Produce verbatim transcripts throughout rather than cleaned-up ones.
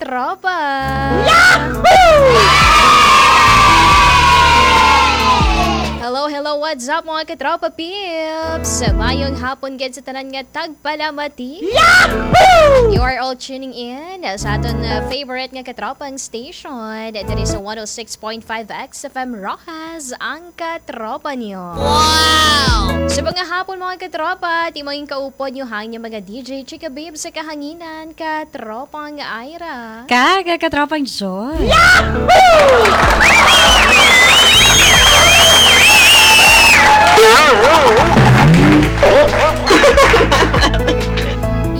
Tropa! Hello, hello, what's up, mga katropa peeps? Mayong hapon gid sa tanan nga tagpalamati. You are all tuning in sa aton, uh, favorite nga katropang station. Diri sa one oh six point five X F M Roxas, ang katropa niyo. Wow! Sa mga hapon, mga katropa, ti maging kaupod niyo hang niya mga D J Chika Babe sa kahanginan, katropang Ira. Kag katropang Joy.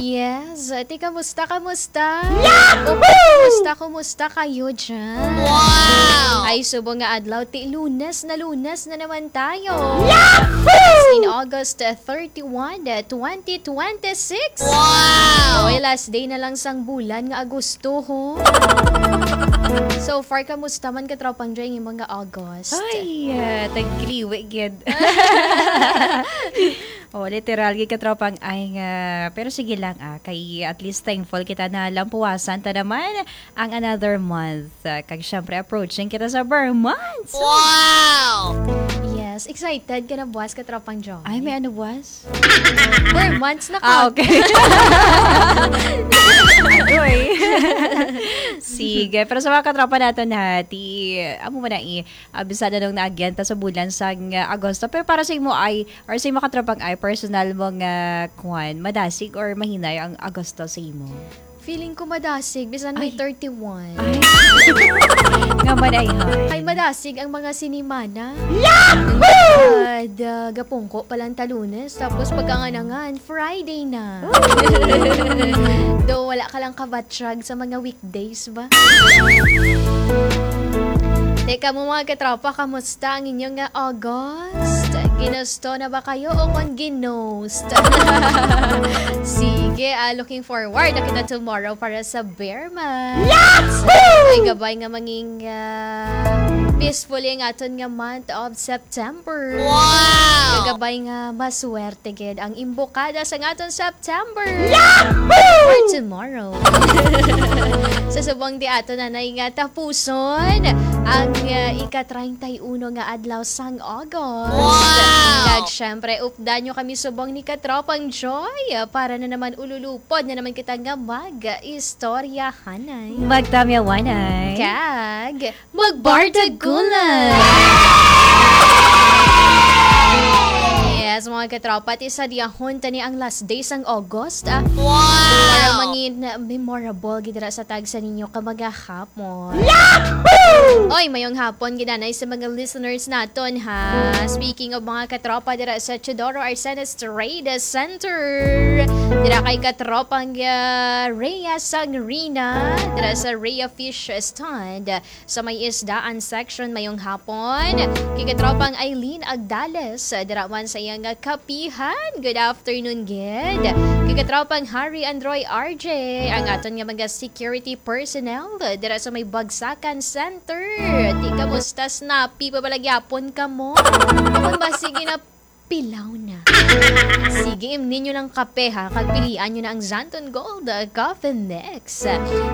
Yes, ti kamusta, kamusta? Yahoo! Kumusta, kumusta kayo dyan? Wow! Ay, subong nga adlaw, ti Lunes na, Lunes na naman tayo. Yahoo! It's in August, uh, thirty-one, uh, twenty twenty-six. Wow! Oy, last day na lang sang bulan nga Agosto, ho. So far, kamusta man, katropang Joy, ang imong nga August? Ay, uh, tagkriwi gid. Oh, literal gid, katropang ay nga. Pero sige lang, ah, kay at least thankful kita na lampuwasan ta naman ang another month. Ah, kag syempre, approaching kita sa Ber months. Wow! Yes, excited ka na buwas, katropang Joy? Ay, may ano buwas? Ber months na ka. Ah, okay. Agoy. Sige, pero sa mga katropa naton, ha, ti, amo man na i-, ah, bisada nung naagyan ta sa bulan sang, ah, Agosto. Pero para sa imo ay, or sa imo katropang ay, personal mo nga, kwan, madasig or mahinay ang Agosto sa imo? Feeling ko madasig, bisan may Ay. thirty-one. Ay. Nga man ay, hoy. Kay madasig ang mga sinemana. Yahoo! Gapungko pa lang ta Lunes, tapos pagkanganangan, Friday na. Though wala ka lang kabatyag sa mga weekdays ba? Teka mo, mga katropa, kamusta ang inyong nga August? Ginusto na ba kayo o kon ginost? Sige, ah, looking forward na kita tomorrow para sa Ber months. Yahoo! Ay, gabay nga manging, ah, peaceful ang aton nga month of September. Wow! Gabay nga maswerte gid ang imbokada sa aton September. Yahoo! For tomorrow. Sa subong ti aton anay nga tapuson ang, ah, ika-treinta y uno nga adlaw sang August. Wow! Kag syempre, updan nyo kami subong ni Katropang Joy, ah, para na naman ululupod na naman kita nga mag-istoryahanay. Magtamyawanay. Kag magbardagulan. Yes, mga katropa, ti sa diyahon tani ang last day sang August, ah. Wow! Para mangin memorable gid dira sa tagsa ninyo ka mga hapon. Yahoo! Oy, mayong hapon gid anay sa mga listeners naton, ha. Speaking of mga katropa dira sa Teodoro Arcenes Trade Center, dira kay katropang, ah, Rhea Sangrina, dira sa Rhea Fish Stand, sa may isdaan section, mayong hapon. Kay katropang Eileen Agdales, dira man sa iyang kapihan. Good afternoon, gid. Kay katropang Harry Androy R J, ang aton nga mga security personnel, dira sa may Bagsakan Center. Ti, kamusta, Snappy? Pabalagyapon ka mo? Kung ba, sige na, pilaw na. Sige, imnin nyo lang kape, ha, kag pilian nyo na ang Xanthone Gold, uh, Coffee Mix.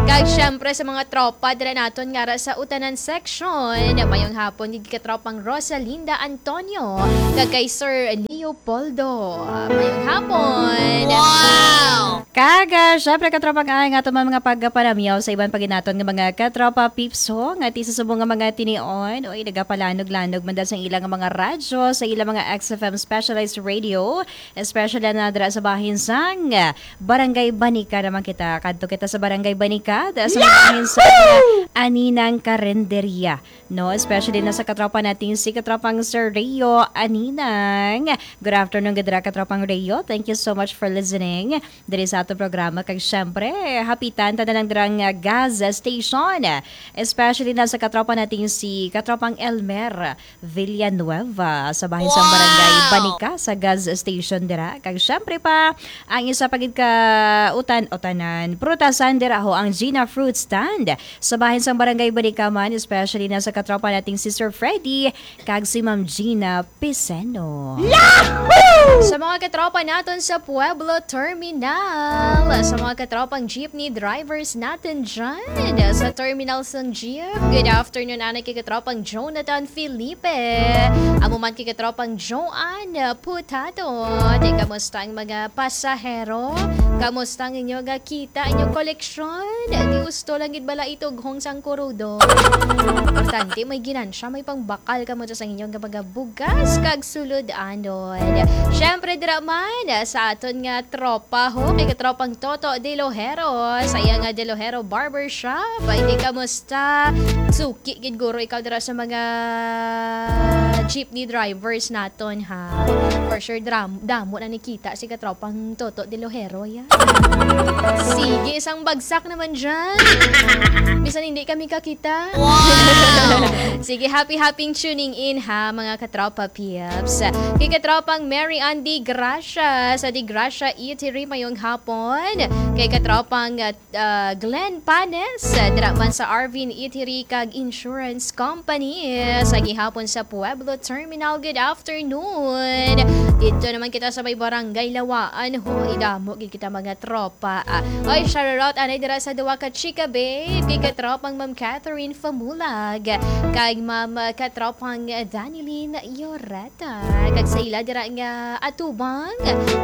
Kag syempre sa mga tropa dira naton nga ara sa utanan section, mayong hapon gid katropang Rosalinda Antonio, kag kay Sir Leopoldo. Uh, mayong hapon. Wow! Kag, ah, syempre, katropang ay nga aton man mga pagpanamyaw sa iban pa gid naton nga mga katropa peeps ho, nga ti sa subong nga mga tinion, oy, nagapalanog-lanog man dahil sa ilang mga radyo, sa ilang mga X F M specialized radio, especially na dira sa bahin sang Barangay Banica naman kita. Kadto kita sa Barangay Banica, dira sa bahin sang Aninang Karinderya, no? Especially na sa katropa natin, si katropang Sir Rio Aninang. Good afternoon, gid dira, katropang Rio. Thank you so much for listening diri sa ato programa. Kag syempre, hapitan ta na lang dirang, ah, gas station. Especially na sa katropa natin si katropang Elmer Villanueva sa bahin sang Barangay Wow! Banica sa gas station dira. Kag syempre pa, ang isa pa gid ka utan-, utanan, prutasan dira ho ang Gina Fruit Stand sa bahin sang Barangay Balikaman, especially na sa katropa nating si Sir Freddy kag si Ma'am Gina Piseno. Sa mga katropa naton sa Pueblo Terminal, sa mga katropang jeepney drivers natin dyan, sa terminal sang jeep, good afternoon, anay kay katropang Jonathan Felipe. Amo man kay katropang Joanne Putato. Di, kamusta ang mga pasahero? Kamusta ang inyo nga kita, inyo koleksyon? Di gusto lang gid bala itughong sang kurudo. Importante, may ginansya, may pangbakal kamo sa inyo nga mga bugas kag sulod anod. Syempre, dira man sa aton nga tropa ho, kay katropang Toto de Lojero, sa iya nga De Lojero Barbershop. Ay, di, kamusta? Suki gid guro ikaw dira sa mga jeepney drivers naton, ha? For sure, dram-, damo na nakita si katropang Toto de Lojero, ya. Sige, isang bagsak naman dyan. Bisan hindi kami kakita. Sige, happy, happy tuning in, ha, mga katropa peeps. Kay katropang Mary Ann Di Gracia sa Di Gracia Eatery, mayong hapon. Kay katropang, uh, uh, Glenn Panes, uh, dira man sa Arvin Eatery kag Insurance Company, uh, sa gihapon sa Pueblo Terminal. Good afternoon. Dito naman kita sa may Barangay Lawaan, ho. Idamo gid kita, mga tropa. Ah, oy, shout out anay dira sa duwa ka chika babe, kay katropang Ma'am Catherine Famulag, kag Ma'am, uh, katropang Danilyn Yoreta, kag sa ila dira nga atubang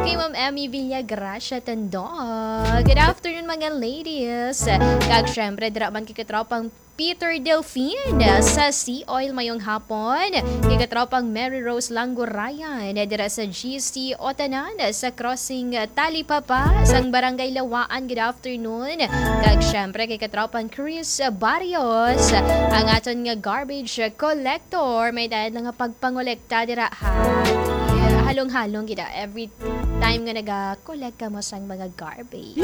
kay Ma'am Emmy Villagracia Tandog. Good afternoon, mga ladies. Kag syempre, dira man kay katropang Peter Delfin sa Sea Oil, mayong hapon. Kay katropang Mary Rose Langurayan dira sa G C Otanan sa Crossing Talipapa sang Barangay Lawaan. Good afternoon. Kag syempre, kay katropang Chris Barrios, ang aton nga garbage collector. May dayad na nga pagpangolekta dira, ha. Halong-halong gid, ah, every time nga naga-collect kamo sang mga garbage.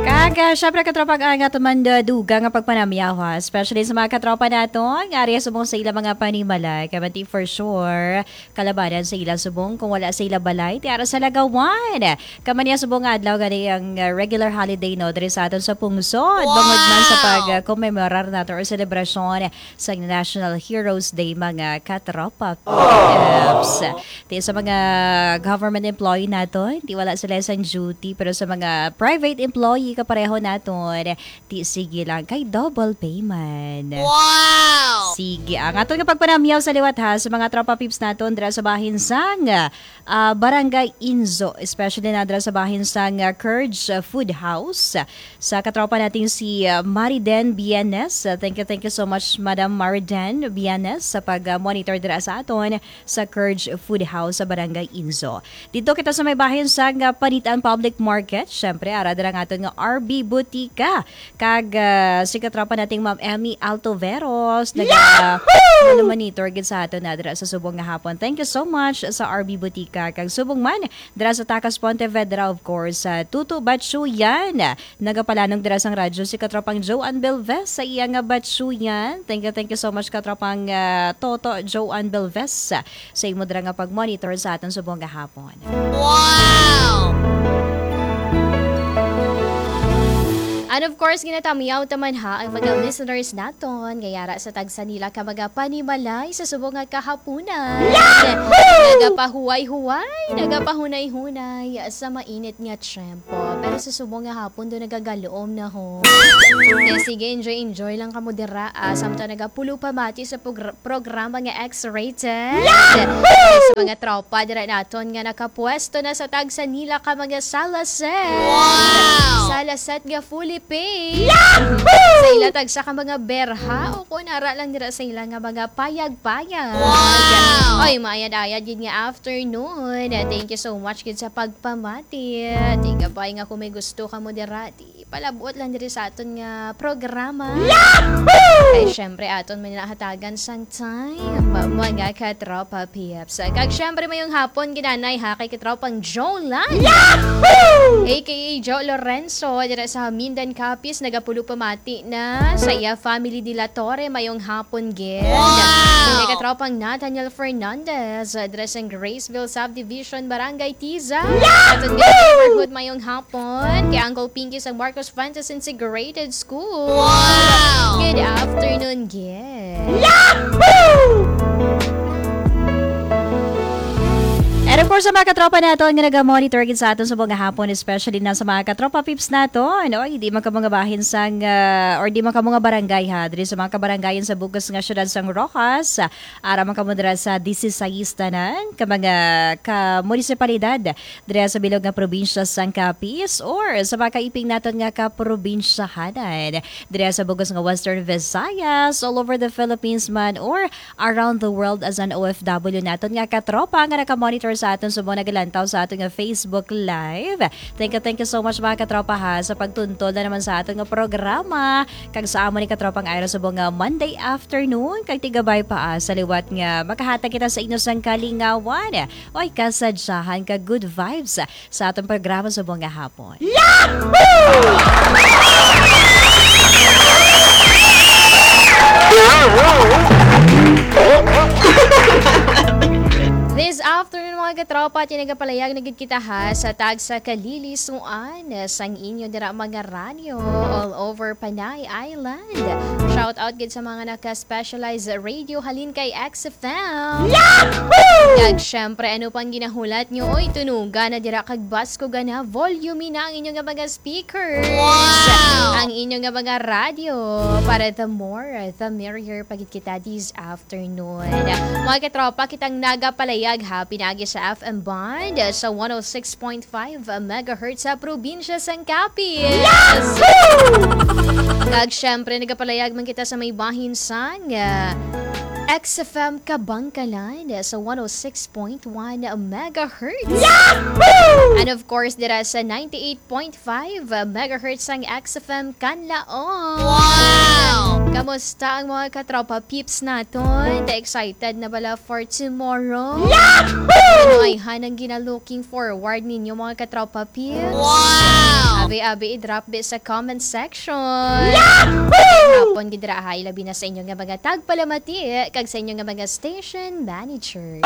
Kag, ah, syempre, katropa, ang aton man, ah, dugang nga pagpanamyaw, ha, especially sa mga katropa naton nga ari subong sa ilang mga panimalay. Kay man ti for sure, kalabanan sa ila subong kung wala sa ila balay, ti ara sa lagawan. Kay man niya subong nga adlaw gani ang, uh, regular holiday, no, diri sa aton sa pungsod. Bangod man sa pag, uh, komemorar nato or selebrasyon sa National Heroes Day, mga katropa peeps. Ti sa mga government employee naton, ti wala sila sa duty, pero sa mga private employee kapareho naton, ti sige lang, kay double payment. Wow! Sige, ang aton nga pagpanamyaw sa liwat, ha, sa mga tropa peeps naton dira sa bahin sang, ah, Barangay Inzo, especially na dira sa bahin sang, ah, Curge, ah, Food House. Sa katropa natin si, ah, Mariden Bienes. Ah, thank you, thank you so much, Madam Mariden Bienes, sa pag-monitor dira sa aton sa Curge Food House sa Barangay Inzo. Dito kita sa may bahin sang, ah, Panitan Public Market. Syempre, ara dira ang aton nga R B Butika. Kag, ah, si katropa nating Ma'am Emmy Altoveros, naga-, nagmamonitor gid sa aton na dira sa subong nga hapon. Thank you so much sa R B Butika. Kag subong man, dira sa Tacas Pontevedra, of course, sa Tuto Batsuyan. Nagapalanog dira sang radyo si katropang Joanne Belves sa iya nga Batsuyan. Thank you, thank you so much, katropang, ah, Toto Joanne Belves, sa imo dira nga pag-monitor sa aton subong nga hapon. Wow! And of course, ginatamyaw ta man, ha, ang mga listeners naton nga yara sa tagsa nila ka mga panimalay sa subong nga kahaponan. Nagapahuway-huway, nagapahunay-hunay sa mainit nga tiyempo. Pero sa subong nga hapon, do nagagalom na, ho. Kaya sige, enjoy, enjoy lang kamo dira, ah, samtang nagapulo pa mati sa pagr-, programa nga X-rated. Yahoo! Sa mga tropa dira naton nga nakapwesto na sa tagsa nila ka mga salaset. Wow! Salaset nga fully paid. Yahoo! Sa ila tagsa ka mga berha o kung ara lang dira sa ila nga mga payag-payag. Wow! Oy, maayad-ayad gid nga afternoon. Thank you so much gid sa pagpamati. Tigabay nga kung may gusto ka mo dira, di Palabot lang diri sa aton nga programa. Yahoo! Kay syempre, aton man nahatagan sang time, mga katropa peeps. Kag syempre, mayong hapon, ginanay ha, kay katropang Joe Lan. Yahoo! A K A Joe Lorenzo, dira sa Mindan, Capiz, nagapulo pamati na sa iya family de la Torre. Mayong hapon, gid. Wow! Kay katropang Nathaniel Fernandez, dira sa Graceville Subdivision, Barangay Tiza. Yahoo! Aton nga neighborhood, mayong hapon. Kay Uncle Pinky sa Marcos Fuentes Integrated School. Wow! Good afternoon, gid. Yahoo! And of course, sa mga katropa naton nga naga-monitor gid sa aton sa mga hapon, especially na sa mga katropa peeps naton, no? Hindi man kamo nga bahin sang, ah, or di man kamo nga barangay, ha, diri sa mga kabarangayan sa bug-os nga siyudad sang Roxas, ara man kamo dira sa dieciséis tanan ka mga ka munisipalidad dira sa bilog nga probinsya sang Capiz, or sa mga kaiping naton nga kaprobinsyahanan dira sa bug-os nga Western Visayas, all over the Philippines man, or around the world as an O F W naton nga katropa nga nakamonitor sa aton subong nagalantaw sa aton nga Facebook Live. Thank you, thank you so much, mga katropa, ha, sa pagtuntol na naman sa aton nga programa. Kag sa amo ni katropang Ira subong nga Monday afternoon, kag tigabay pa, ah, sa liwat nga makahatag kita sa inyo sang kalingawan, oy, kasadyahan kag good vibes sa atong programa subong nga hapon. This afternoon, mga katropa, tinagapalayag na gid kita, ha, sa tagsa ka lilisuan sang inyo dira mga radyo all over Panay Island. Shout out gid sa mga naka-specialized radio halin kay X F M. Yahoo! Kag syempre, ano pang ginahulat nyo? Oy, tunuga na dira kag baskuga na, volume na ang inyo nga mga speakers. Wow! Ang inyo nga mga radyo para the more, the merrier pa gid kita this afternoon. Mga katropa, kitang nagapalayag ha, pinagi sa F M band sa one oh six point five megahertz sa probinsya sang Capiz. Yahoo! Kag syempre, nagapalayag man kita sa may bahin sang, ah, X F M Kabangkalan sa one oh six point one megahertz. Yahoo! And of course, dira sa ninety-eight point five megahertz sang X F M Kanlaon. Wow! Kamusta ang mga katropa peeps naton? Excited na bala for tomorrow? Yahoo! Ano ay hanang gina-looking forward ninyo, mga katropa peeps? Wow! Abi-abi i-drop bi sa comment section. Yahoo! Hapon gid ra, ha, ilabi na sa inyo nga mga tagpalamati kag sa inyo nga mga station manager.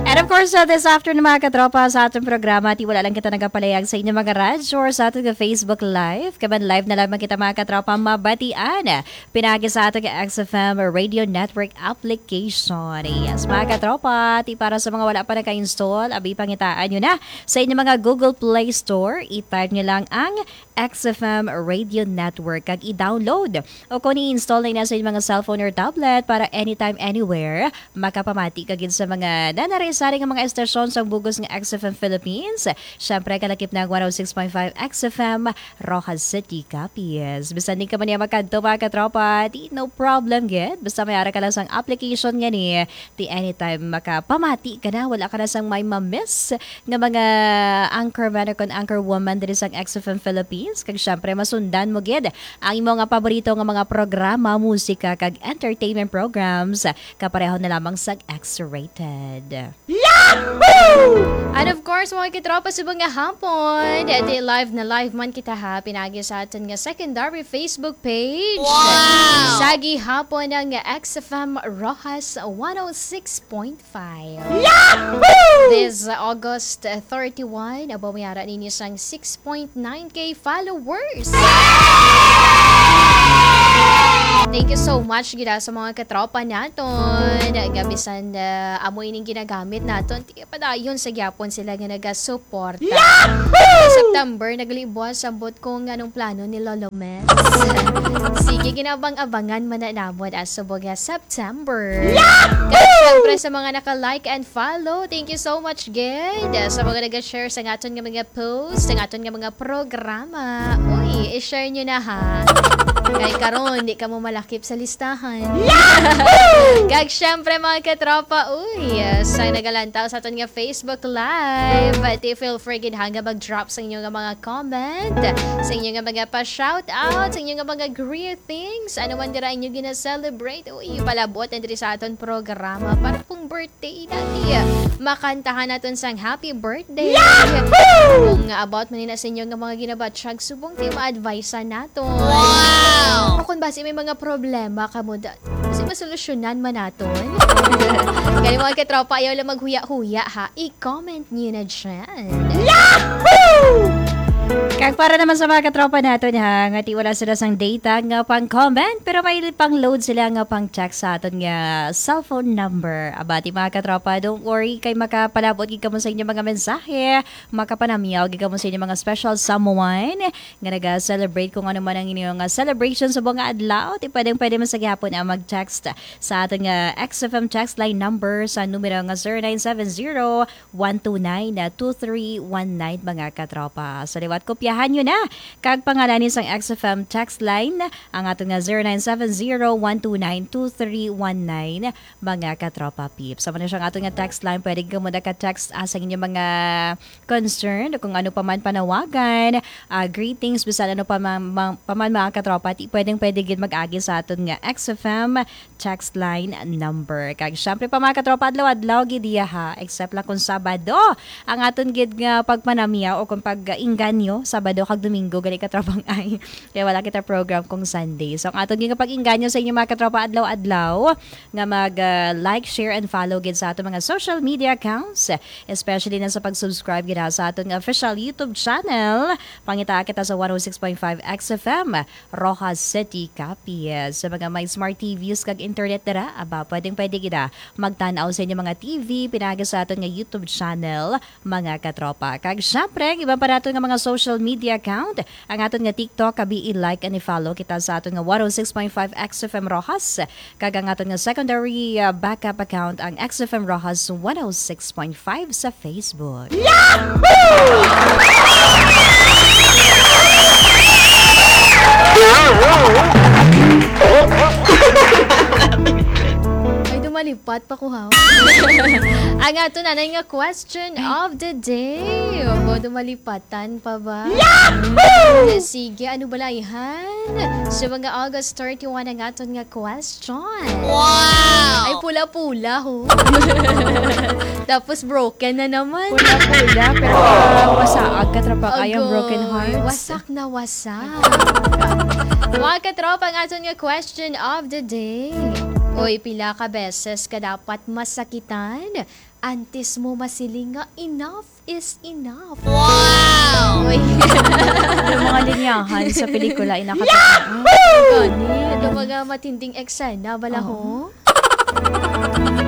And of course, uh, this afternoon, mga katropa, sa ating programa, ti wala lang kita nagapalayag sa inyong mga radyo or sa ating Facebook Live. Kaban live na lamang kita, mga katropa, mabatian. Pinagi sa ating X F M Radio Network application. Yes, mga katropa, ti para sa mga wala pa naka-install, abi, pangitaan nyo na sa inyong mga Google Play Store. I-type nyo lang ang X F M Radio Network kag i-download o kung i-install na ina sa inyong mga cellphone or tablet para anytime, anywhere, makapamati ka gid sa mga nanari-sari nga mga estasyon sa bug-os nga X F M Philippines. Siyempre, kalakip na ang one oh six point five X F M Roxas City, Capiz. Bisan di ka man niya makadto, mga katropa, di no problem gid. Basta may ara ka lang sang application nga ni, di anytime makapamati ka na, wala ka na sang may ma-miss nga mga anchorman o kon anchorwoman diri sang X F M Philippines. Kag syempre, masundan mo gid ang imo nga paborito nga mga programa, musika, kag entertainment programs, kapareho na lamang sang X-rated. Yahoo! And of course, mga katropa, subong nga hapon, di live na live man kita ha, pinagi sa aton nga secondary Facebook page. Wow! Sa gihapon ng X F M Roxas one oh six point five. Yahoo! This August thirty-one, abo may ara ninyo sang six point nine K followers. Thank you so much gid sa mga katropa naton nga bisan, ah, amo ining ginagamit naton, ti padayon sa gyapon sila nga nagasuporta. Yahoo! Sa September, naglibwas, ambot kung anong plano ni Lolo Mens. Sige, ginabang-abangan man na namon ang subong nga September. Yahoo! Kag syempre sa mga naka-like and follow, thank you so much gid. Sa mga nag-share sa aton nga mga post, sa aton nga mga programa, uy, i-share nyo na ha. Kay karon, di ka mo malakip sa listahan. Kag syempre, mga katropa, uy, sa nagalantaw sa aton nga Facebook Live, ti feel free gid ha nga mag-drop sa inyo nga mga comment, sa inyo nga mga pa-shoutout, sa inyo nga mga greetings, ano man dira inyo gina-celebrate, uy, palabot na diri sa aton programa para kung birthday na, ti makantahan naton sang happy birthday. Kung about man na sa inyo nga mga ginabatyag subong, ti ma-advise naton. Wow! O kung basi may mga problema ka mo, da- kasi masolusyonan man naton. Kaya, mga katropa, ayaw lang maghuya-huya, ha? I-comment niyo na dyan. Kag para naman sa mga katropa naton, ha, nga ti wala sila sang data nga pang-comment, pero may pang-load sila nga pang-text sa aton nga cellphone number. Abati, mga katropa, don't worry, kay makapalabot gid kamo sa inyo mga mensahe, makapanamyaw gid kamo sa inyo mga special someone nga naga-celebrate kung ano man ang inyo nga celebration sa mga adlaw. Ti pwedeng pwede man sa gihapon ang mag-text sa aton nga X F M text line number sa numero nga zero nine seven zero, one two nine, two three one nine, mga katropa. So, liwat, kopyahan nyo na kag pangalanin sang X F M text line, ang aton nga zero nine seven zero, one two nine, two three one nine, mga katropa peeps. Sa man siya ang aton nga text line, pwede ka muna ka-text, ah, sa inyong mga concern, kung ano pa man panawagan, ah, greetings, bisan ano pa man, ma-, pa man, mga katropa, ti pwedeng pwede gid mag-agi sa aton nga X F M text line number. Kag syempre pa, mga katropa, adlaw-adlaw gid iya, ha, except lang kung Sabado ang aton gid nga pagpanamyaw o kung pag-inganyo, Sabado kag Domingo gani, katropang ay, kaya wala kita program kung Sunday. So ang aton gid nga pag-inganyo sa inyo, mga katropa, adlaw-adlaw nga mag, ah, like, share, and follow gid sa aton mga social media accounts, especially na sa pag-subscribe gid, ha, sa aton nga official YouTube channel. Pangita kita sa one oh six point five X F M, Roxas City, Capiz. Sa mga may smart T Vs kag internet dira, aba, pwedeng pwede gid, ah, magtan-aw sa inyong mga T V pinaagi sa aton nga YouTube channel, mga katropa. Kag syempre, ang iban pa naton nga mga social media account, ang aton nga TikTok, abi, i-like and i-follow kita sa aton nga one oh six point five X F M Roxas, kag ang aton nga secondary, ah, backup account, ang X F M Roxas one oh six point five sa Facebook. Ay, dumalipat pa ko, ha? Ang ato nanay nga question of the day. Obo, dumalipatan pa ba? Yahoo! Sige, ano, balayhan? Sa mga August thirty-one ang aton nga question. Wow! Ay, pula-pula, ho. Tapos broken na naman. Pula-pula, pero, ah, wasaag, katropa, kay ang Agoy, broken hearts. Wasak na wasak. Mga katropa, ang aton nga question of the day. Uy, pila ka beses ka dapat masakitan antes mo masiling nga enough is enough? Wow! Uy. Yung mga linyahan sa pelikula, inakatawa. Gani, ito mga matinding eksena, bala, ho? Oo.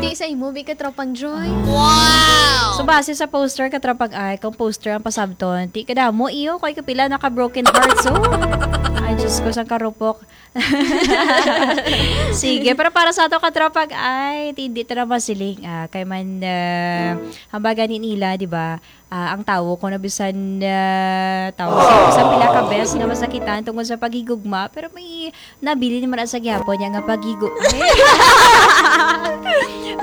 Ti sa imo, bi, katropang Joy? Wow! So, base sa poster, katropang ay, kung poster ang pasabton, ti kadamo, iyo, kay kapila naka broken hearts, oh. Ay, Diyos ko, sang karupok. Sige, pero para sa ato, katropang ay, ti, hindi ta na masiling, ah, kay man, ah, hambagan ni nila, di ba? Ah, ang tawo, kung nabisan, ah, tawo, sa, sa pila ka bes nga masakitan tungod sa paghigugma, pero may nabilin man sa gihapon niya nga paghigu-,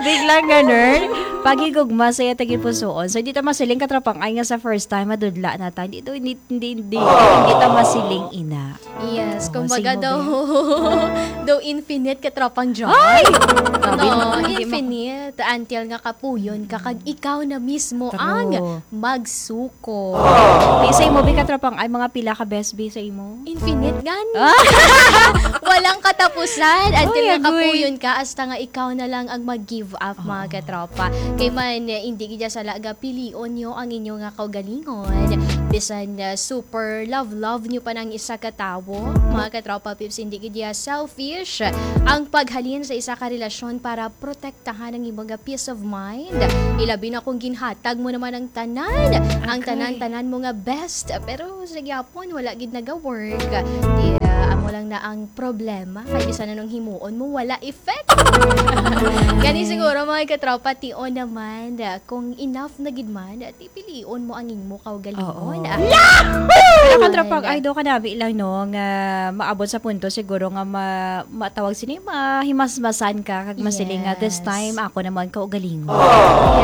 biglang ganun, paghigugma sa iya tagipusoon. So, di ta masiling, katropang ay, nga sa first time, madudla na ta. Hindi to, hindi, hindi, hindi, hindi ta masiling ina. Yes, oo, kumbaga daw, daw infinite, katropang John. Ay! Grabe naman, hindi ma- infinite until nga kapuyon ka, kag ikaw na mismo ang magsuko. Di sa imo, bi, katropang ay, mga pila ka bes, bi, sa imo? Infinite gani. Ah! Walang katapusan until nga kapuyon ka, hasta nga ikaw na lang ang mag-give up, mga katropa. Kay man, eh, hindi gid sala gapilion nyo ang inyo nga kaugalingon. Bisan, eh, super love-love nyo pa ng isa ka tawo, mga katropa peeps, hindi gid selfish ang paghalin sa isa ka relasyon para protektahan ang imong peace of mind. Ilabi na kung ginhatag mo naman ang tanan, ang tanan-tanan mo nga best, pero sa gyapon, wala gid naga-work. Di, ah, amo lang na ang problema. Kay bisan anong himuon mo, wala effect. Gani siguro, mga katropa, tion naman, ah, kung enough na gid man, ah, di pilion mo ang imo kaugalingon. Oo. Ah. Pero, katropa, ay, do ka nabi lang, no, nga maabot sa punto siguro nga ma-, matawag sini, mahimasmasan ka, kag masiling nga, "This Yes. time, ako naman kaugalingon."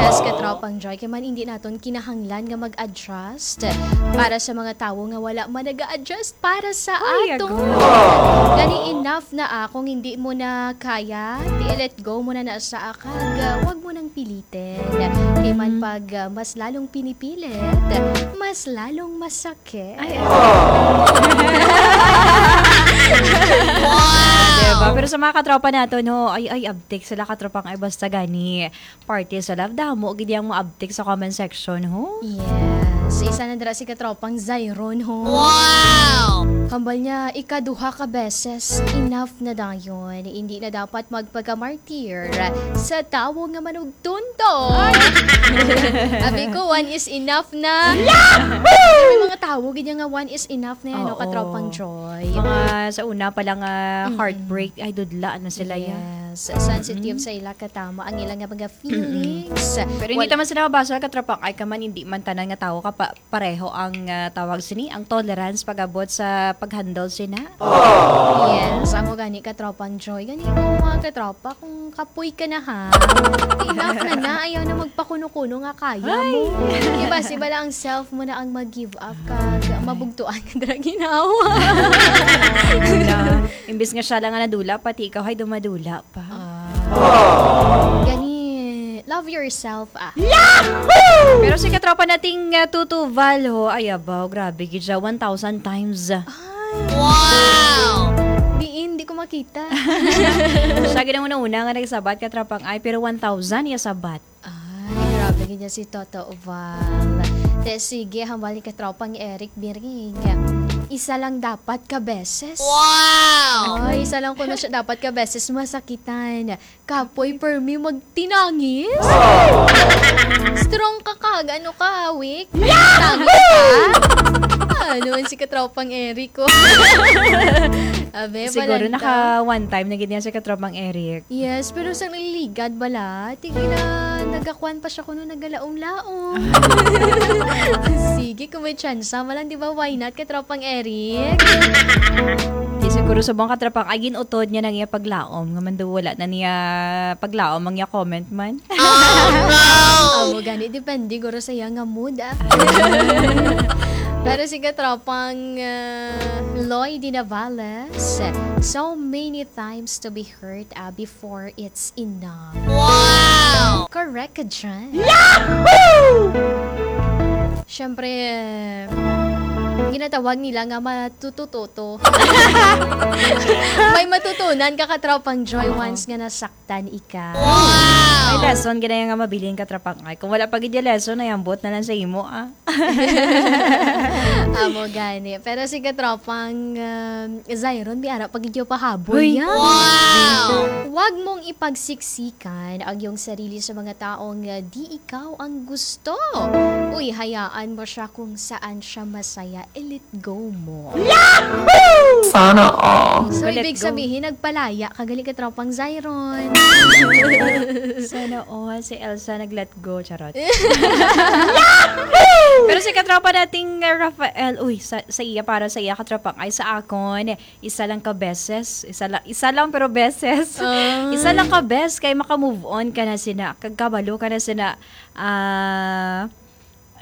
Yes, katropang Joy, kay man hindi naton kinahanglan nga mag-adjust para sa mga tawo nga wala man nag-a-adjust para sa Ay, ato. Agay. Gani, enough na, ah, kung hindi mo na kaya, di, let go mo na na sa akag, ah, wag mo nang pilitin. Kay man Mm. pag, ah, mas lalong pinipilit, mas lalong masakit. Ay, ay. Diba? Pero sa mga katropa nato, no, ay, ay, abtik sila, katropang, ay, basta gani. Party sa love, damo gid yang maabtik sa comment section, ho? Yes. Isa na dira si katropang Zyron, ho? Wow! Hambal niya, ikaduha ka beses, enough na dayon. Hindi na dapat magpagamartir sa tawo nga manugtunto. Ay! Abi ko, one is enough na. Yahoo! May mga tawo gid nga one is enough na yan, no, Oo. katropang Joy? Mga sa una pa lang, ah, Mm-mm. heartbreak, ay, dudla na sila, ya. Yes. Sensitive Mm-mm. sa ila katama ang ila nga mga feelings. Pero hindi Wal- naman sila mabasa, katropang, ay ka man, hindi man tanan nga tawo ka pa, pareho ang, ah, tawag sini, ang tolerance pag-abot sa pag-handle sina. Yes, amo gani, katropang Joy. Gani ko, mga katropa, kung kapoy ka na, ha, enough na na, ayaw na magpakuno-kuno nga kaya mo. Ay! Diba, si bala ang self mo na ang mag-give up kag mabugtuan ka dira ginawa. Wala. Imbis nga siya lang nga nadula, pati ikaw ay dumadula pa. Ah. Gani, love yourself, ah. Pero si katropa nating, ah, Tutuval, ho, ay, abaw, grabe gid siya, one thousand times. Ay. Wow! Diin, di ko makita. Siya gid ang una-una nga nagsabat, katropang, ay, pero one thousand iya sabat. Ay, grabe gid niya si Toto Val. Te, sige, hambal ni katropang Eric Biring. Isa lang dapat ka beses. Wow! Ay, isa lang kuno siya dapat ka beses masakitan. Kapoy permi magtinangis? Strong ka kag ano ka, weak? Tinangis ka? Ano man si katropang Eric ko? Abe, Siguro balanta. naka one time na gid niya si katropang Eric. Yes, pero sa naliligad bala, tingin na nagakuan pa siya kuno nagalaom-laom. Sige, kung may tsansa, malang, di ba, why not, katropang Eric? Di siguro sa mga katropang, ay, ginutod niya nang iya paglaom, nga man daw wala na niya paglaom ang iya comment man. Oh, no! Amo gani, depende guro sa iya nga mood, ah. Pero si katropang, ah, Lloyd Dinavales, so many times to be hurt, ah, before it's enough. Wow! Correct ka dyan. Yahoo! Siyempre, ginatawag nila nga matutututo. May matutunan ka, katropang Joy, Oo. once nga nasaktan ika. Wow! May lesson gid na nga mabilin, katropang. Ay, kung wala pa gid yung lesson, ay ambot na lang sa imo, ah. Amo gani. Pero si katropang, um, Zyron, may ara pa gid yung pahabol Hoy. yan. Wow! Huwag mong ipagsiksikan ang iyong sarili sa mga taong, uh, di ikaw ang gusto. Uy, hayaan mo siya kung saan siya masaya. I-let go mo. Sana all. So, Let ibig go. sabihin, nagpalaya ka gali, katropang Zyron. Sana all. Si Elsa nag-let go. Charot. Pero si katropa nating, uh, Rafael, uy, sa, sa iya, para sa iya, katropang, ay, sa akon, isa lang ka beses, isa lang, isa lang pero beses. Ah. Isa lang ka bes kay maka-move on ka na sina, kag kabalo ka na sina, ah,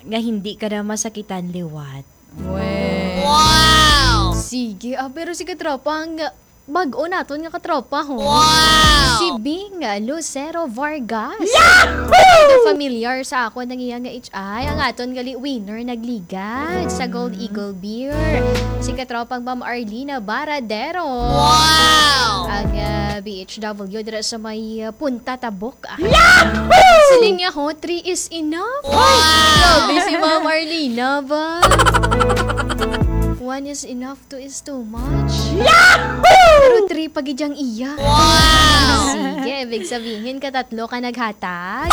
nga hindi ka na masakitan liwat. Wow! Sige, ah, pero si katropa, ang bag-o naton nga katropa, ho. Wow! Si Bing Lucero Vargas. Yahoo! Medyo familiar sa ako nang iya nga H I. Ang aton gali winner nagligad sa Gold Eagle Beer. Si katropang Ma'am Arlina Baradero. Wow! Ang, ah, B H W dira sa may, ah, Punta Tabok. Ah. Yahoo! Siling niya, ho, three is enough. Wow! Ay, grabe si Ma'am Arlina ba? One is enough, two is too much. Yahoo! Pero three pa gid ang iya. Wow! Sige, ibig sabihin, katatlo ka naghatag.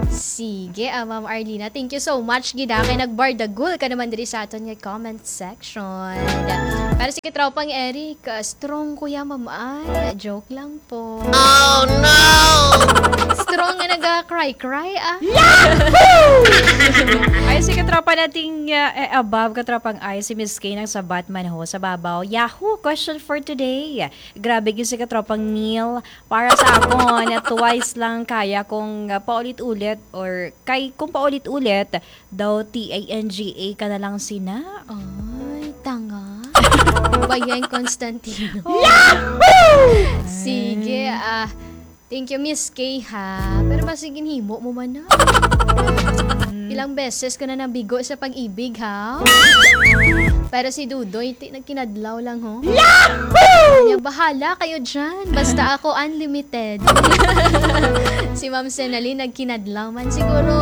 Sige, ah, Ma'am Arlina, thank you so much gid, ah, kay nagbardagol ka naman diri sa aton nga comment section. Pero sige, tropang Eric, ah, strong ko ya, Ma'am, ay. Joke lang po. Oh, no! Strong nga naga-cry-cry, ah. Ay, si katropa nating, uh, eh, above, katropang ay, si Miss K nang sa Batman ho, sa babaw. Yahoo! Question for today. Grabe gyud si katropang Neil. Para sa akon, na twice lang kaya kung, uh, paulit-ulit or kay, kung paulit-ulit, daw T A N G A ka na lang sina. Ay, tanga. Bayan Constantino. Yahoo! Sige, ah, thank you, Miss K, ha. Pero basi ginhimo mo man na. Mm. Ilang beses ko na nabigo sa pag-ibig, ha? Pero si Dudoy, ti-, nagkinadlaw lang, ho. Yahoo! Kanya, bahala kayo dyan. Basta ako, unlimited. Si Ma'am Senalyn, nagkinadlaw man. Siguro,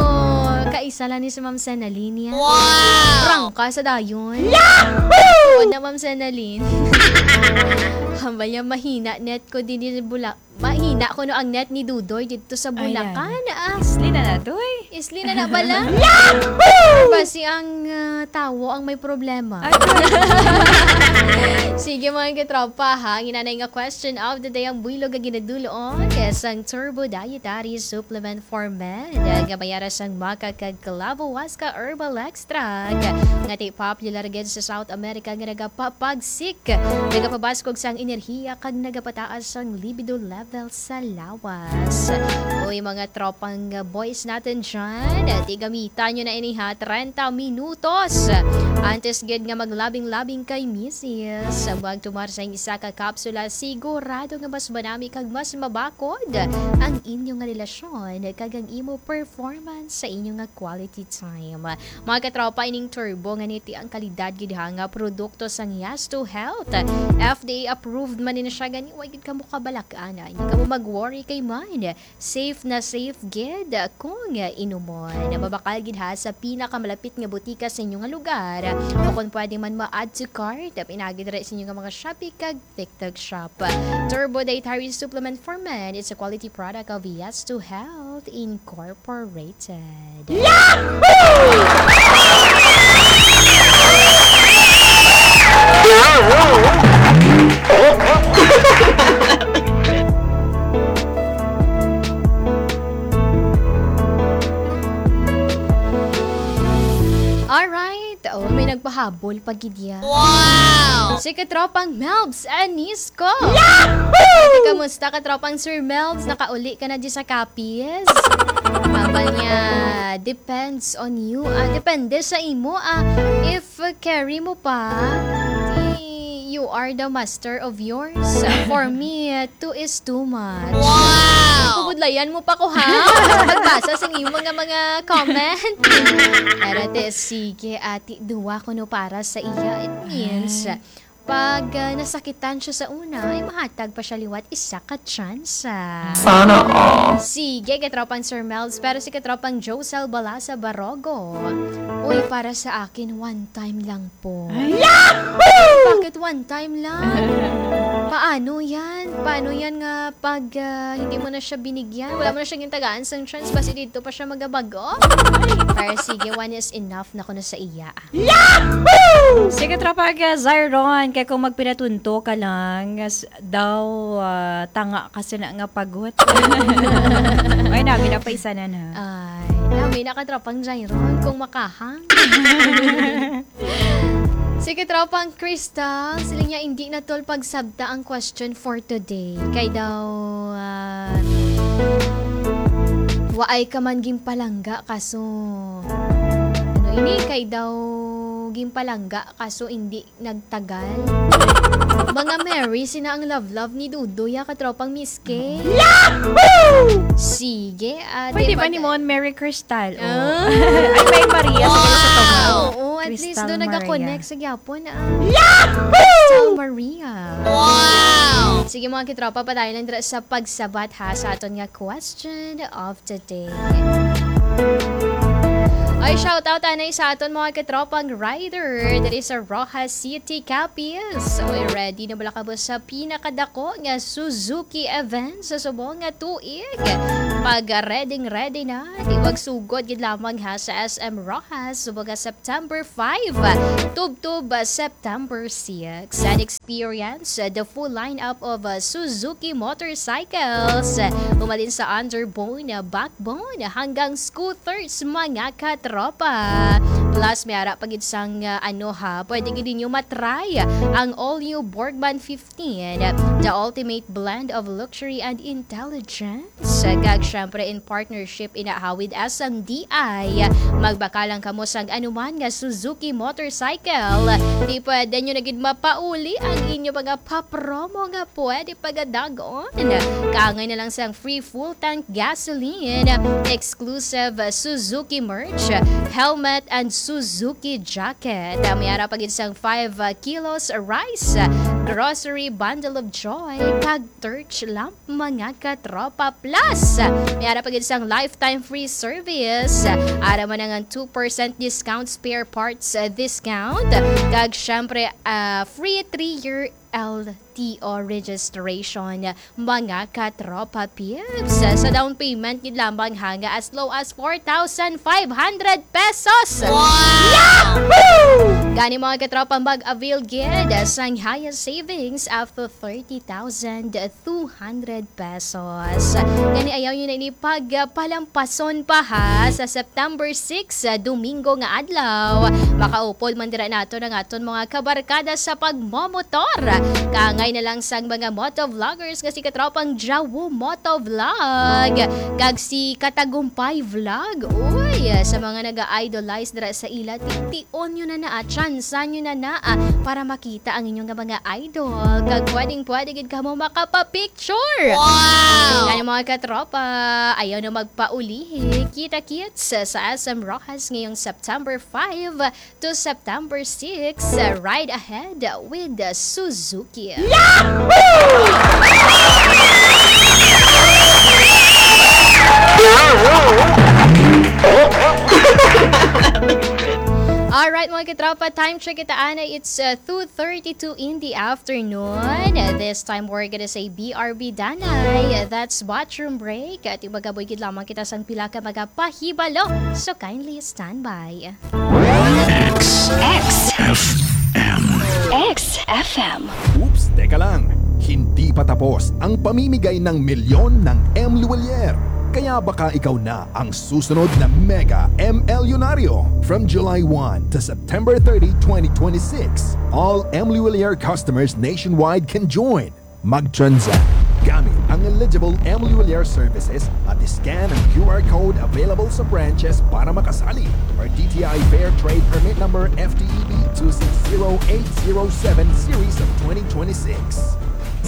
kaisa lang ni si Ma'am Senalyn yan. Wow! Prangka sa dayon. Yahoo! Wala, Ma'am Senalyn. Hambal niya, mahina net ko din ni Bula-, mahina ko no ang net ni Dudoy dito sa Ay, Bulacan, yan. Ah. Isli na na, Doy. Isli na na bala? Yahoo! Basi ang, ah, tawo ang may problema. Ay, Doy. Sige, mga katropa, ha. Ang inanay nga question of the day, ang buylog nga ginadulon, eh, sang Turbo Dietary Supplement for Men. Nga mayara sang maca kag clavo huasca herbal extract. Nga ti popular gid sa South America nga nagapapagsik, nagapabaskog sang enerhiya kag nagapataas sang libido level sa lawas. Uy, mga tropang boys natin dyan, ti gamitan nyo na ini ha, treinta minutos antes gid nga maglabing-labing kay misis. Magtumar sa isa ka kapsula, sigurado nga mas manami kag mas mabakod ang inyo nga relasyon kag ang imo performance sa inyo nga quality time. Mga katropa, ining Turbo nga niti ang kalidad gid ha nga produkto sang Yasto Health. F D A approved man ni siya, gani wa gid kamo kabalak-an. Hindi kamo mag-worry kay man. Safe na safe gid kung inumon. Mabakal gid ha sa pinakamalapit nga butika sa inyo nga lugar. O kung pwede man, ma-add to cart. Pinagi diri sa inyo nga mga Shopee kag TikTok Shop. Turbo Dietary Supplement for Men. It's a quality product of Yes to Health Incorporated. Yahoo! Alright. Oh, may nagpahabol pa gid ya. Wow! Si katropang Melbs Anisco. Yahoo! Ate, kamusta, katropang Sir Melbs? Nakauli ka na di sa Capiz? Abal niya, depends on you. Ah, depende sa imo. Ah, if carry mo pa, di, you are the master of yours. For me, two is too much. Wow! Pabudlayan mo pa ko, ha? Magbasa sa imo nga mga comment. Pero te, sige, ati, duwa ko no para sa iya. It means, Ay. pag, ah, nasakitan siya sa una, ay mahatag pa siya liwat isa ka tsansa. Sana all. Sige, katropang Sir Melbs, pero si katropang Josel Balasa Barogo, uy, para sa akin, one time lang po. Ay. Yahoo! Bakit one time lang? Paano yan? Paano yan nga pag, ah, hindi mo na siya binigyan? Wala mo na siya gintagaan sang chance, basi dito pa siya magabago? Pero sige, one is enough na kuno sa iya. Yahoo! Sige, tropa, ah, Zyron, kay kung magpinatunto ka lang, s-, daw, ah, tanga kasi na nga pagot. Ay, nami na pa isa na na. Ay, nami na ka, tropang Zyron, kung makahang. Sige, tropang Crystal, sila niya, hindi na tol pagsabta ang question for today. Kay daw, ah, waay ka man ginpalangga, kaso, ano ini, kay daw ginpalangga, kaso hindi nagtagal. Mga Mary, sina ang love-love ni Dudoy, ah, katropang Miss K? Yahoo! Sige, ah, Pwede di ba ba ni ta- Mon Mary Crystal? Oh. Ah. Ay, may Maria sa Wow! Cristo. Oo, at least Crystal doon Maria. Nagka-connect sa gyapon, ah. Yahoo! Crystal Maria. Wow! Sige, mga kitropa, padayon lang dira sa pagsabat, ha, sa aton nga question of today. Ay, Shoutout anay sa aton mga katropang rider diri sa Roxas City, Capiz. Uy, ready na bala kamo sa pinakadako nga Suzuki event sa subong nga tuig? Pag ready, ready na, di magsugod gid lamang ha sa S M Roxas subong nga September five, tubtob September six. And experience the full lineup of uh, Suzuki motorcycles. Umalin sa underbone, uh, backbone, hanggang scooters, mga katropa. Plus, may ara pa gid sang, uh, ano ha, pwede gid ninyo matry ang all-new Borgman fifteen, the ultimate blend of luxury and intelligence. Kag syempre, in partnership ina ha with S M D I, magbakal lang kamo sang anuman nga Suzuki motorcycle. Di pwede nyo na gid mapauli ang inyo mga papromo nga pwede pagadagon. Kaangay na lang sang free full tank gasoline, exclusive Suzuki merch, helmet, and Suzuki jacket. May ara pa gid sang five kilos rice, grocery bundle of joy, kag torch lamp, mga katropa. Plus, may ara pa gid sang lifetime free service. Ara man ang two percent discount, spare parts, uh, discount. Kag syempre, uh, free three-year L T O registration, mga katropa peeps. Sa down payment gid lamang ha, nga as low as four thousand five hundred pesos. Wow! Yahoo! Gani, mga katropa, mag-avail gid sang highest savings up to thirty thousand two hundred pesos. Gani, ayaw nyo na ini pagpalampason pa ha. Sa September six, ah, Domingo nga adlaw, makaupod man dira nato ang aton mga kabarkada sa pagmomotor. Kaangay na lang sang mga motovloggers nga si katropang Jawu Motovlog kag si Katagumpay Vlog. Uy, sa mga naga-idolize dira sa ila, tion nyo na na, ah, tsansa nyo na na, ah, para makita ang inyong nga mga idol. Kag pwedeng-pwede gid kamo makapapicture. Wow! Kaya, mga katropa, ayaw na magpaulihi. Kita-kits sa S M Roxas ngayong September five to September six. Ride ahead with Suzuki. Alright, mga katropa, time check kita, ana. It's, uh, two thirty-two in the afternoon. This time, we're gonna say B R B Danay. That's bathroom break. At magabuy gid lamang kita sang pila ka mga pahibalo. So, kindly stand by. X. X. F M. X F M. Oops, teka lang. Hindi pa tapos ang pamimigay ng milyon ng M Luwalier. Kaya baka ikaw na ang susunod na mega M Lunario. From July one to September thirty, twenty twenty-six, all M Luwalier customers nationwide can join. Mag-transact gamit ang eligible M Luwalier services at scan ang Q R code available sa branches para makasali, or D T I Fair Trade Permit Number F T E B two six zero eight zero seven series of twenty twenty-six.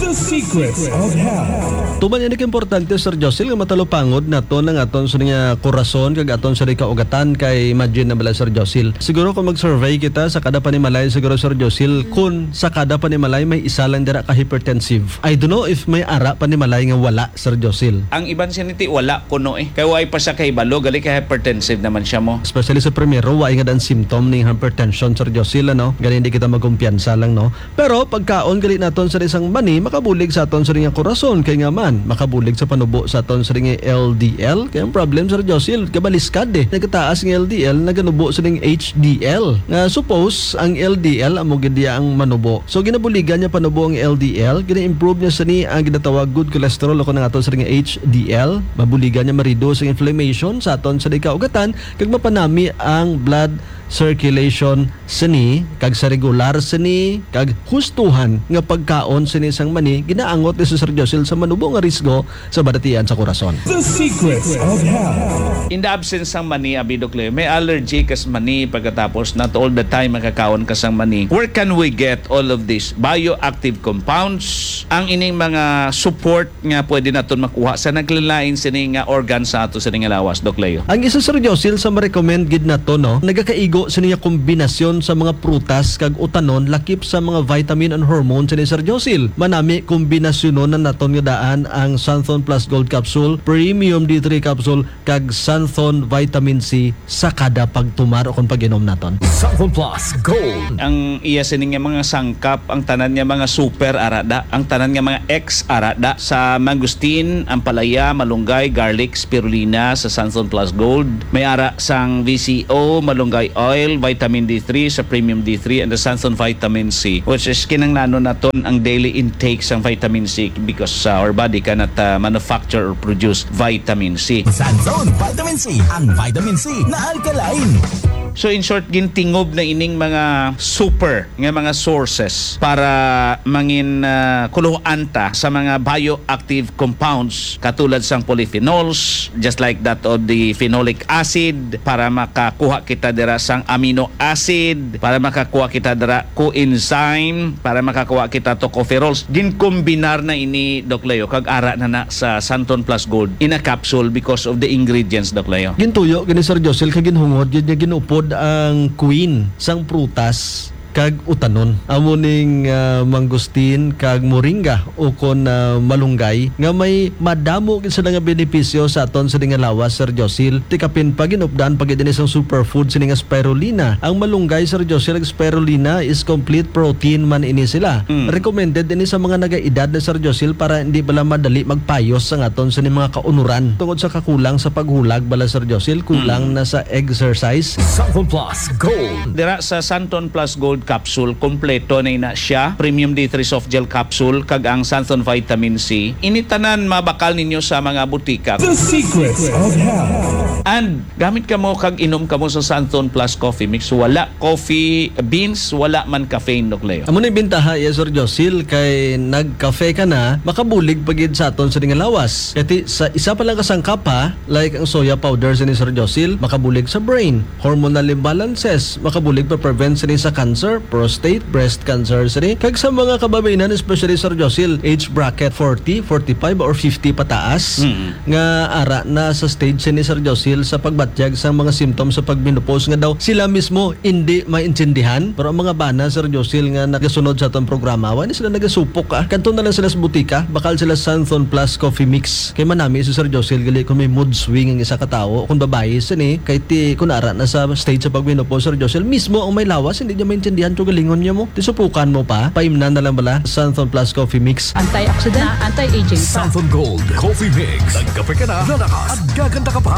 The Secrets of Health. Tuman ini ka importante, Sir Josil, nga matalupangod naton ang aton sa nga kurason kag aton sa kaugatan, kay imagine na bala, Sir Josil. Siguro kung mag-survey kita sa kada panimalay, siguro, Sir Josil, kung sa kada panimalay may isa lang dira ka hypertensive. I don't know if may ara panimalay nga wala, Sir Josil. Ang iban siniti wala kuno eh. Kay way pa siya kahibalo, gali kay hypertensive naman siya mo. Especially sa primero, way nga dan symptom ning hypertension, Sir Josil, ano? Gani hindi kita magkumpiyansa lang, no? Pero pagkaon gali naton sa isang mani, makabulig sa aton sa nga kurason, kay nga man, makabulig sa panubo sa aton sa nga L D L. Kay ang problem, Sir Josil, kabaliskad eh. Nagataas nga L D L, naganubo sa ning H D L. Nga suppose, ang L D L amo gid iya ang manubo. So, ginabuligan niya panubo ang L D L, gina-improve niya sa ni ang ginatawag good cholesterol o kung ang aton sa nga H D L. Mabuligan niya ma-reduce ang inflammation sa aton sa kaugatan, kag mapanami ang blood circulation sini, kag sa regular sini, kag hustuhan nga pagkaon sini sang mani, ginaangot ni Sir Josil sa manubo nga risgo sa balatian sa kurason. The Secrets of Health. In the absence sang mani, abi, Doc Leo, may allergy ka sa mani, pagkatapos not all the time makakaon ka sang mani. Where can we get all of these bioactive compounds? Ang ining mga support nga pwede naton makuha sa naglain-lain sini nga organ sa ato sini nga lawas, Doc Leo. Ang isa, Sir Josil, sa ma-recommend gid nato, no, nagakaigo sini nga kombinasyon sa mga prutas kag utanon, lakip sa mga vitamin and hormone sini, Sir Josil. Mana- Ami, kombinasyonon na naton nga daan ang Santhon Plus Gold Capsule, Premium D three Capsule, kag Santhon Vitamin C sa kada pagtumar o kon pag-inom naton. Santhon Plus Gold. Ang iya sini nga mga sangkap, ang tanan nga mga super arada, ang tanan nga mga X arada, sa mangosteen, ampalaya, malunggay, garlic, spirulina sa Santhon Plus Gold. May ara sang V C O, malunggay oil, vitamin D three sa Premium D three, and the Santhon Vitamin C, which is kinahanglanon naton ang daily intake sang vitamin C because, uh, our body cannot, uh, manufacture or produce vitamin C. Santhon Vitamin C, ang vitamin C na alkaline. So, in short, gintingob na ining mga super nga mga sources para mangin, ah, kuluhan ta sa mga bioactive compounds katulad sang polyphenols, just like that of the phenolic acid, para makakuha kita dira sang amino acid, para makakuha kita dira coenzyme, para makakuha kita tocopherols. Ginkombinar na ini, Doc Leo, kag ara na na sa Santon Plus Gold in a capsule because of the ingredients, Doc Leo. Gintuyo gani, Sir Josil, kag ginhungod gyud nga ginupod ang queen sang prutas kag utanon. Amo ning, ah, mangosteen kag moringa ukon, ah, malunggay nga may madamo gid sila nga benepisyo sa aton sini nga lawas, Sir Josil. Ti kapin pa, ginupdan pa gid ini sang superfood sini nga spirulina. Ang malunggay, Sir Josil, kag spirulina is complete protein man ini sila. Mm. Recommended ini sa mga nagaedad na, Sir Josil, para hindi bala madali magpayos ang aton sini mga kaunuran tungod sa kakulang sa paghulag bala, Sir Josil, kulang Mm. na sa exercise. Santon Plus Gold. Dira sa Santon Plus Gold Capsule, kompleto na ina siya. Premium D three Soft Gel Capsule, kag ang Santon Vitamin C. Ini tanan mabakal ninyo sa mga butika. The Secrets of Health. And gamit kamo kag inom kamo sa Santon Plus Coffee Mix. Wala coffee beans, wala man caffeine, Doc Leo. Amo ni bintaha iya, Sir Josil, kay nagkafe ka na, makabulig pa gid sa aton sini nga lawas. Kay ti, sa isa pa lang ka sangkap, ha, like ang soya powder sini, Sir Josil, makabulig sa brain, hormonal imbalances, makabulig pa prevent sini sa cancer, prostate, breast cancer sini, kag sa mga kababayen-an, especially, Sir Josil, age bracket forty, forty-five, or fifty pataas, Mm. nga ara na sa stage sini, Sir Josil, sa pagbatyag sa mga symptoms sa pagmenopause nga daw sila mismo hindi maintindihan. Pero ang mga bana, Sir Josil, nga nagasunod sa atong programa, wala sila nagasupok, ah. Kadto na lang sila sa butika, bakal sila Santhon Plus Coffee Mix. Kay manami si Sir Josil, gali kung may mood swing ang isa ka tawo, kung babayi sini, kay ti, kung ara na sa stage sa pagmenopause, Sir Josil, mismo ang may lawas, hindi niya maintindihan kung galingon niya mo. Ti supukan mo pa, paimnan na lang bala, Santhon Plus Coffee Mix. Antioxidant, anti-aging pa. Santhon Gold Coffee Mix. Nagkape ka na, lalakas, at gaganda ka pa.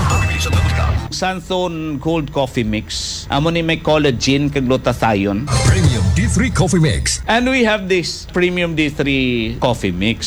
Santhon Gold Coffee Mix. Amo ni may collagen kag glutathione. Premium D three Coffee Mix. And we have this Premium D three Coffee Mix.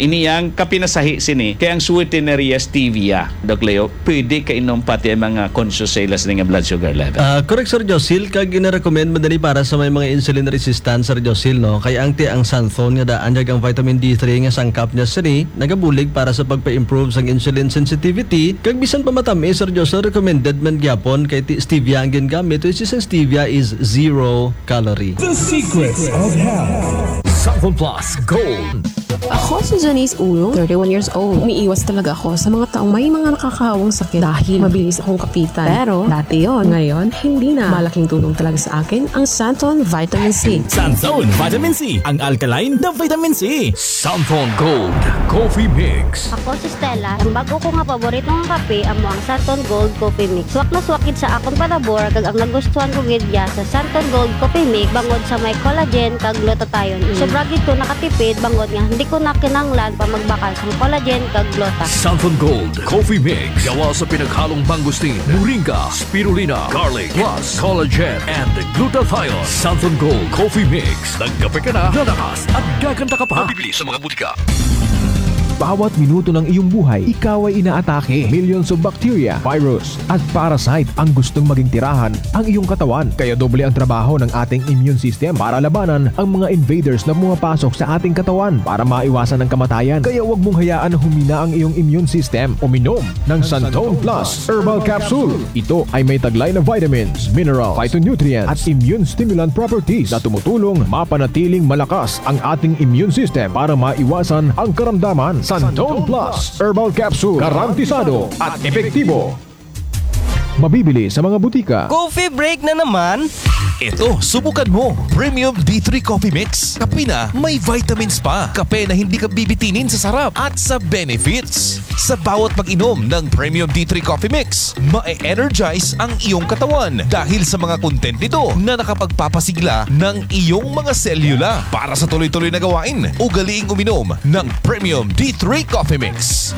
Ini ang kapinasahi sini kay ang sweetener iya stevia, Doc Leo. Pwede kainom pati ang mga conscious sa ila sini nga blood sugar level. Ah, correct, Sir Josil, kag gina-recommend man dali para sa may mga insulin resistant, Sir Josil, no? Kay ang ti ang Santhon nga daan kag ang vitamin D three nga sangkap niya sini nagabulig para sa pagpa-improve sang insulin sensitivity, kag bisan pa matamis, Sir Josil, recommended man gyapon kay ti stevia ang gingamit, which is ang stevia is zero calorie. The Secrets of Health. Santhon Plus Gold. Ako si Janice Ulong, thirty-one years old. Umiiwas talaga ako sa mga taong may mga nakakahawang sakit dahil mabilis akong kapitan. Pero dati yon, ngayon hindi na. Malaking tulong talaga sa akin ang Santon Vitamin C. Santon Vitamin C, ang alkaline na vitamin C. Santon Gold Coffee Mix. Ako si Stella. Ang bago ko nga paborito nga kape amo ang Santon Gold Coffee Mix. Swak na swak gid sa akon palabor, kag ang nagustuhan ko gid ya sa Santon Gold Coffee Mix bangod sa may collagen kag glutathione. Mm. Sobra gid ko nakatipid bangod nga hindi ko na kinahanglan pa magbakal sang collagen kag gluta. Santon Gold Coffee Mix. Gawa sa pinaghalong mangosteen, moringa, spirulina, garlic, plus collagen and glutathione. Santon Gold Coffee Mix. Nagkape ka na, lalakas, at gaganda ka pa. Mabibili sa mga butika. Bawat minuto ng iyong buhay, ikaw ay inaatake. Millions of bacteria, virus, at parasite ang gustong maging tirahan ang iyong katawan. Kaya doble ang trabaho ng ating immune system para labanan ang mga invaders na pumapasok sa ating katawan para maiwasan ang kamatayan. Kaya huwag mong hayaan na humina ang iyong immune system. Uminom ng Santon Plus Herbal Capsule. Ito ay may taglay na vitamins, minerals, phytonutrients, at immune stimulant properties na tumutulong mapanatiling malakas ang ating immune system para maiwasan ang karamdaman. Santon Plus Herbal Capsule, garantisado at epektibo. Mabibili sa mga butika. Coffee break na naman? Ito, subukan mo. Premium D three Coffee Mix. Kape na may vitamins pa. Kape na hindi ka bibitinin sa sarap at sa benefits. Sa bawat pag-inom ng Premium D three Coffee Mix, ma-energize ang iyong katawan dahil sa mga content nito na nakapagpapasigla ng iyong mga selula. Para sa tuloy-tuloy na gawain, ugaliing uminom ng Premium D three Coffee Mix.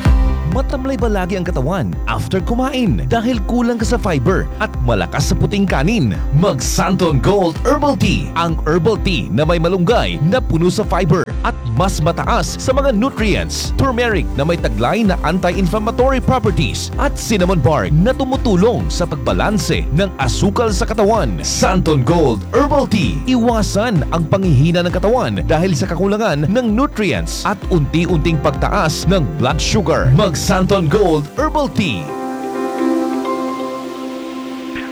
Matamlay ba lagi ang katawan after kumain dahil kulang ka sa fiber at malakas sa puting kanin? Mag Santon Gold Herbal Tea, ang herbal tea na may malunggay na puno sa fiber at mas mataas sa mga nutrients. Turmeric na may taglay na anti-inflammatory properties at cinnamon bark na tumutulong sa pagbalanse ng asukal sa katawan. Santon Gold Herbal Tea. Iwasan ang panghihina ng katawan dahil sa kakulangan ng nutrients at unti-unting pagtaas ng blood sugar. Mag Santon Gold Herbal Tea.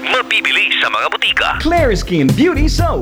Mabibili sa mga butika. Clariskin Beauty Soap.